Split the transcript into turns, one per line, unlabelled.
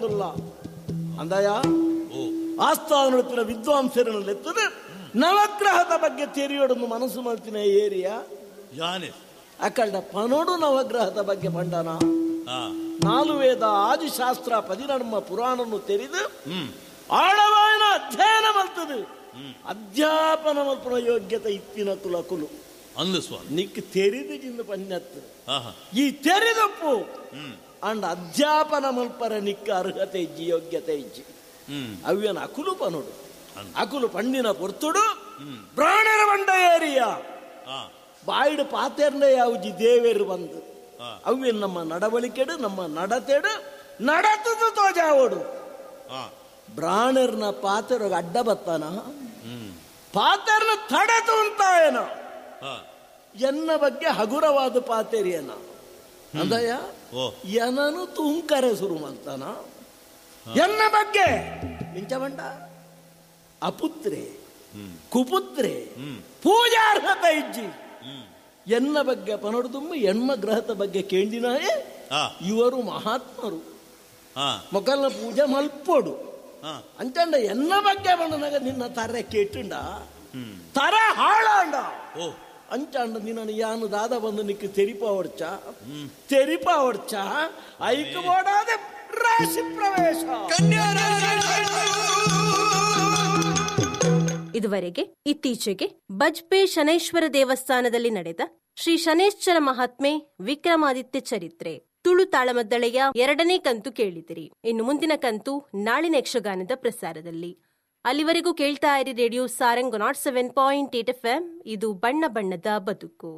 ಪೋವೊಂದುಲ್ಲ ಅಂದಯ. ಆಸ್ಥಾನ ವಿದ್ವಾಂಸರನ್ನೆತ್ತದ ನವಗ್ರಹದ ಬಗ್ಗೆ ತೆರಿಯೋಡೊಂದು ಮನಸ್ಸು ಮಲ್ತಿನ ಏರಿಯಾ
ಯಾನೆ
ಅಕಲ್ಡ ಪನೋಡು ನವಗ್ರಹದ ಬಗ್ಗೆ ಪಂಡನ. ನಾಲು ವೇದ ಆದಿಶಾಸ್ತ್ರ 14 ಪುರಾಣನ್ನು ತೆರೆದು ಆಳವಾಯನ ಅಧ್ಯಯನ ಮಲ್ತದು. ಅಧ್ಯಾಪನ ಮಲ್ಪನ ಯೋಗ್ಯತೆ ಇತ್ತಿನ ತುಲಕುಲು
ಅಂದು ಸ್ವಾಮಿ
ನಿಕ್ ತೆರಿದು ಜಿಂದು ಪನ್ಯತ್ತು ಈ ತೆರಿದಪ್ಪು ಅಂಡ್ ಅಧ್ಯಾಪನ ಮಲ್ಪರ ನಿಕ್ಕ ಅರ್ಹತೆ ಇಜ್ಜಿ ಯೋಗ್ಯತೆ ಇಜ್ಜಿ. ಅವ್ಯನ ಅಕುಲು ಪನೋಡು ಅಕುಲು ಪಂಡಿನ ಪೊರ್ತುಡು ಬ್ರಾಣರ ಬಂಡ ಏರಿಯಾ ಬಾಯಿಡು ಪಾತೆರ್ನ ಯಾವುಜಿ ದೇವೇರು ಬಂದು ಅವ್ಯನ್ ನಮ್ಮ ನಡವಳಿಕೆಡು ನಮ್ಮ ನಡತೆಡು ನಡತದು ತೋಜಾವೋಡು. ಬ್ರಾಣರ್ನ ಪಾತೆರ ಅಡ್ಡ ಬತ್ತಾನ ಪಾತೆರ್ನ ತಡೆತು ಅಂತಾಯನ ಎನ್ನ ಬಗ್ಗೆ ಹಗುರವಾದ ಪಾತೆರಿಯನ ಅಂದಯ್ಯ ಏನನು ತೂಂಕರೆ ಶುರು ಮಾಡ್ತಾನ ಎನ್ನ ಬಗ್ಗೆ ನಿಂಚಬಂಡ ಅಪುತ್ರೆ ಕುಪುತ್ರೆ ಪೂಜಾರ್ಹತೆ ಇಜ್ಜಿ ಎನ್ನ ಬಗ್ಗೆ ಪನೊಡ್ದುಂಬ ಎಣ್ಮ ಗ್ರಹದ ಬಗ್ಗೆ ಕೇಂದಿನಾಯೇ ಇವರು ಮಹಾತ್ಮರು ಮೊಕಲ್ನ ಪೂಜೆ ಮಲ್ಪೋಡು ಅಂತಂಡ ಎನ್ನ ಬಗ್ಗೆ ಬಂಡನಾಗ ನಿನ್ನ ತರೆ ಕೇಟುಂಡ ತರೆ ಹಾಳಾಂಡ ಅಂಚಾಂಡ ನಿನ್ನ ಯಾನು ದಾದ ಬಂದು ನಿಕ್ಕ ತೆರಿಪಾವಡ್ಚ ತೆರಿಪಾವಡ್ಚ ಐಕು ಬೋಡಾದ ರಾಶಿ ಪ್ರವೇಶ.
ಇದುವರೆಗೆ ಇತ್ತೀಚೆಗೆ ಬಜ್ಪೆ ಶನೈಶ್ವರ ದೇವಸ್ಥಾನದಲ್ಲಿ ನಡೆದ ಶ್ರೀ ಶನೈಶ್ಚರ ಮಹಾತ್ಮೆ ವಿಕ್ರಮಾದಿತ್ಯ ಚರಿತ್ರೆ ತುಳು ತಾಳಮದ್ದಳೆಯ 2ನೇ ಕಂತು ಕೇಳಿದಿರಿ. ಇನ್ನು ಮುಂದಿನ ಕಂತು ನಾಳಿನ ಯಕ್ಷಗಾನದ ಪ್ರಸಾರದಲ್ಲಿ. ಅಲ್ಲಿವರೆಗೂ ಕೇಳ್ತಾ ಇರಿ ರೇಡಿಯೋ ಸಾರಂಗ್ 107.8 FM. ಇದು ಬಣ್ಣ ಬಣ್ಣದ ಬದುಕು.